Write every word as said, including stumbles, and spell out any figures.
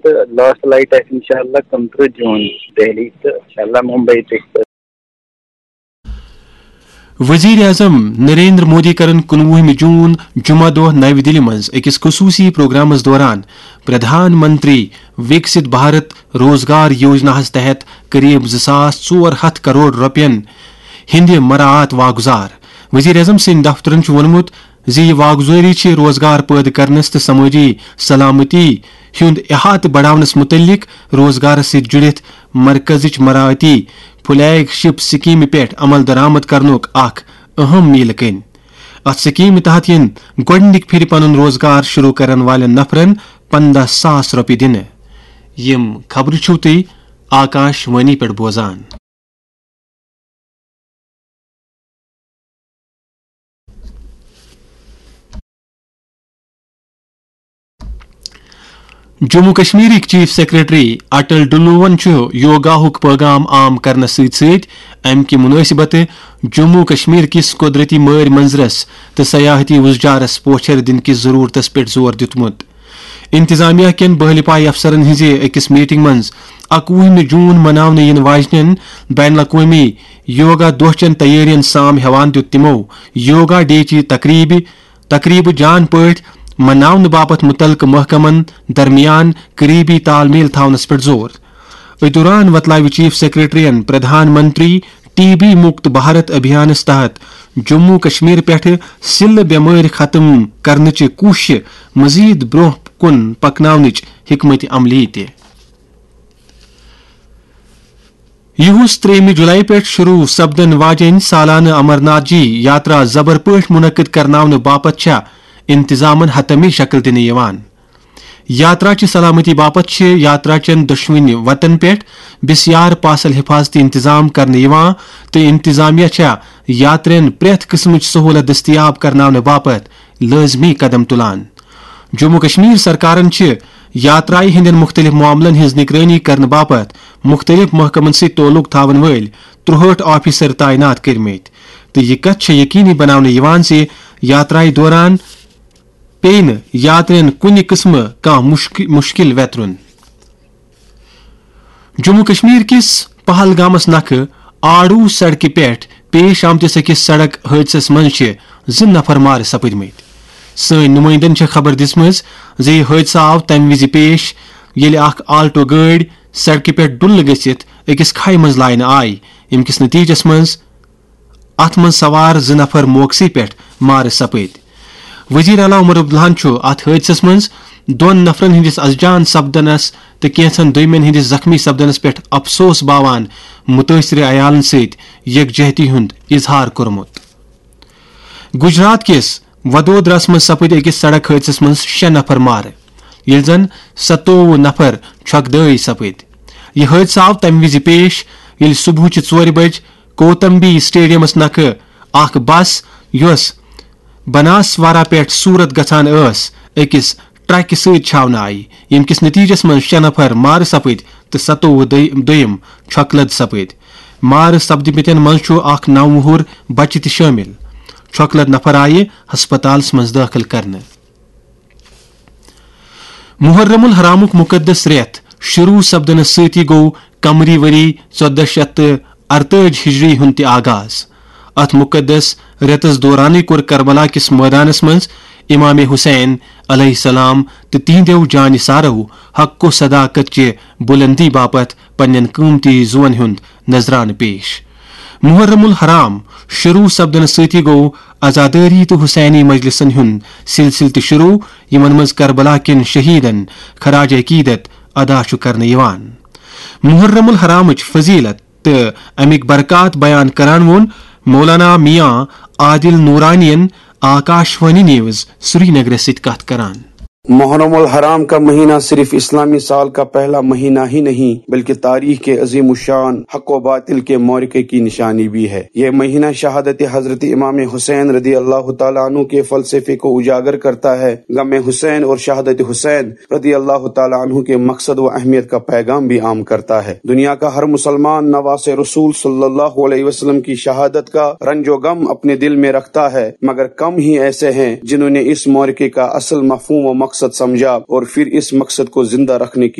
Last flight آسہِ انشاءاللہ کُنترٕہ جون دہلی تہٕ انشاءاللہ ممبئی تہِ۔ وزیر اعظم نریندر مودی کرن کُنوُہمہِ جون جمعہ دۄہ نَوِ دِلہِ منٛز أکِس خصوٗصی پروگرامس دوران پردھان منتری وکست بھارت روزگار یوجناہس تحت قریب زٕ ساس ژور ہتھ کرور رۄپین ہٕنٛدِ مراعات واگزار۔ وزیر اعظم سٕنٛدِ دفترن چھُ ووٚنمُت زِ یہِ واگزٲری چھِ روزگار پٲدٕ کرنس تہٕ سمٲجی سلامتی ہُنٛد احاطہٕ بڑاونس مُتعلق روزگارس سۭتۍ جُڑِتھ مرکزٕچ مراعاتی فلیگ شپ سکیمہِ پٮ۪ٹھ عمل درآمد کرنُک اکھ اہم میٖلہٕ کٔنۍ۔ اتھ سکیمہِ تحت یِن گۄڈٕنِکۍ پھِرِ پنُن روزگار شروع کرن والٮ۪ن نفرن پنٛداہ ساس رۄپیہِ دِنہٕ۔ یِم خبرٕ چھِو تُہۍ آکاش وانی پٮ۪ٹھ بوزان۔ جموں کشمیرٕکۍ چیف سیکرٹری اٹل ڈلوون چھُ یوگاہُک پیغام عام کرنس سۭتۍ سۭتۍ امہِ کہِ مناسبتہٕ جموں کشمیر کِس قدرتی مٲرۍ منظرس تہٕ سیاحتی وُزجارس پوچھر دِنہٕ کِس ضرورتس پٮ۪ٹھ زور دیُتمُت۔ انتظامیہ کٮ۪ن بہلہِ پایہِ افسرن ہٕنٛزِ أکِس میٹنگ منٛز اَکوُہمہِ جون مناونہٕ یِنہٕ واجنٮ۪ن بین الاقوٲمی یوگا دۄہ چٮ۪ن تیٲرین سام ہٮ۪وان دیُت تِمو یوگا ڈے چہِ تقریبہِ تقریبہٕ جان پٲٹھۍ مناونہٕ باپتھ مُتعلقہٕ محکمن درمیان قریبی تال میل تھاونس پٮ۪ٹھ زور۔ أتھۍ دوران وتلٲوِ چیف سیکرٹریَن پردھان منتری ٹی بی مُکت بھارت ابھیانَس تحت جموں کشمیر پٮ۪ٹھٕ سِلہٕ بٮ۪مٲرۍ ختم کرنٕچہِ کوٗششہِ مزید برونٛہہ کُن پکناونٕچ حکمت عملی تہِ۔ یِہُس ترٛیٚیِمہِ جولائی پٮ۪ٹھ شروع سپدن واجٮ۪ن سالانہٕ امرناتھ جی یاترا زبر پٲٹھۍ منعقد کرناونہٕ باپتھ چھےٚ انتظامن حتمی شکل دِنہٕ یِوان۔ یاترا چہِ سلامتی باپتھ چھِ یاترا چٮ۪ن دۄشوٕنی وتن پٮ۪ٹھ بسیار پاسل حفاظتی انتظام کرنہٕ یِوان تہٕ انتظامیہ چھےٚ یاترین پرٛٮ۪تھ قٕسمٕچ سہولت دٔستیاب کرناونہٕ باپتھ لٲزمی قدم تُلان۔ جموں کشمیر سرکارن چھِ یاترایہِ ہٕنٛدٮ۪ن مُختٔلِف معاملن ہٕنٛز نگرٲنی کرنہٕ باپتھ مُختٔلِف محکمن سۭتۍ تعلق تھاون وٲلۍ ترٛوہٲٹھ آفیسر تعینات کٔرمٕتۍ، تہٕ یہِ کتھ چھےٚ یقینی بناونہٕ یِوان زِ یاترایہِ دوران پیٚیہِ نہٕ یاترین کُنہِ قٕسمہٕ کانٛہہ مُشک-، مُشکِل ویترُن۔ جموں کشمیر کِس پہلگامس نکھٕ آڑو سڑکہِ پٮ۪ٹھ پیش آمتِس أکِس سڑک حٲدثس منٛز چھِ زٕ نفر مارٕ سپٕدمٕتۍ۔ سٲنۍ نُمٲیندن چھےٚ خبر دِژمٕژ زِ یہِ حٲدثہٕ آو تَمہِ وِزِ پیش، ییٚلہِ اکھ آلٹو گٲڑۍ سڑکہِ پٮ۪ٹھ ڈُلہٕ گٔژھِتھ أکِس کھایہِ منٛز لاینہٕ آیہِ، ییٚمہِ کِس نتیجس منٛز اتھ منٛز سوار زٕ نفر موقعسٕے پٮ۪ٹھ مارٕ سپٕدۍ۔ وزیر اعلیٰ عمر عبداللہن چھُ اتھ حٲدثس منٛز دۄن نفرن ہٕنٛدِس از جان سپدنس تہٕ کینٛژن دوٚیمٮ۪ن ہٕنٛدِس زخمی سپدنس پٮ۪ٹھ افسوس باوان مُتٲثرٕ عیالن سۭتۍ یکجہتی ہُنٛد اظہار کوٚرمُت۔ گجرات کِس ودودراہس منٛز سپٕدۍ أکِس سڑک حٲدثس منٛز شےٚ نفر مارٕ، ییٚلہِ زن ستووُہ نفر چھۄکہٕ دٲے سپٕدۍ۔ یہِ حٲدثہٕ آو تَمہِ وِزِ پیش، ییٚلہِ صبحٕچہِ ژورِ بجہِ کوتمبی اسٹیڈیمس نکھٕ اکھ بس، یۄس بناسوارا پٮ۪ٹھ سورت گژھان ٲس، أکِس ٹرکہِ سۭتۍ چھاونہٕ آیہِ، ییٚمہِ کِس نتیجس منٛز شےٚ نفر مارٕ سپٕدۍ تہٕ ستووُہ دٔے-، دوٚیِم چھۄکہٕ لد سپٕدۍ۔ مارٕ سپدمٕتٮ۪ن منٛز چھُ اکھ نَو وُہُر بچہِ تہِ شٲمِل۔ چھۄکہٕ لد نفر آیہِ ہسپتالس منٛز دٲخل کرنہٕ۔ محرم الحرامُک مُقدس رٮ۪تھ شروع سپدنس سۭتی گوٚو قمری ؤری ژۄدہ شیٚتھ تہٕ ارتٲجۍ ہجری ہُنٛد تہِ آغاز۔ اتھ مُقدس رٮ۪تس دورانٕے کوٚر کربلا کِس مٲدانس منٛز امام حسین علیہ السلام تہٕ تِہنٛدیو جانثارو حق و صداقت چہِ بُلندی باپتھ پننٮ۪ن قۭمتی زُوَن ہُنٛد نذرانہٕ پیش۔ محرم الحرام شروع سپدنہٕ سۭتی گوٚو عزادٲری تہٕ حسینی مجلسن ہُنٛد سلسلہٕ تہِ شروع، یِمن منٛز کربلا کٮ۪ن شہیدن خراج عقیدت ادا چھُ کرنہٕ یِوان۔ محرم الحرامٕچ فضیلت تہٕ اَمِکۍ برکات بیان کران ووٚن مولانا میاں عادل نورانین آکاش وانی نیوز سرینگرس سۭتۍ کتھ کران۔ محرم الحرام کا مہینہ صرف اسلامی سال کا پہلا مہینہ ہی نہیں، بلکہ تاریخ کے عظیم الشان حق و باطل کے معرکے کی نشانی بھی ہے۔ یہ مہینہ شہادت حضرت امام حسین رضی اللہ تعالیٰ عنہ کے فلسفے کو اجاگر کرتا ہے۔ غم حسین اور شہادت حسین رضی اللہ تعالیٰ عنہ کے مقصد و اہمیت کا پیغام بھی عام کرتا ہے۔ دنیا کا ہر مسلمان نواس رسول صلی اللہ علیہ وسلم کی شہادت کا رنج و غم اپنے دل میں رکھتا ہے، مگر کم ہی ایسے ہیں جنہوں نے اس معرکے کا اصل مفہوم و مقصد سمجھا اور پھر اس مقصد کو زندہ رکھنے کی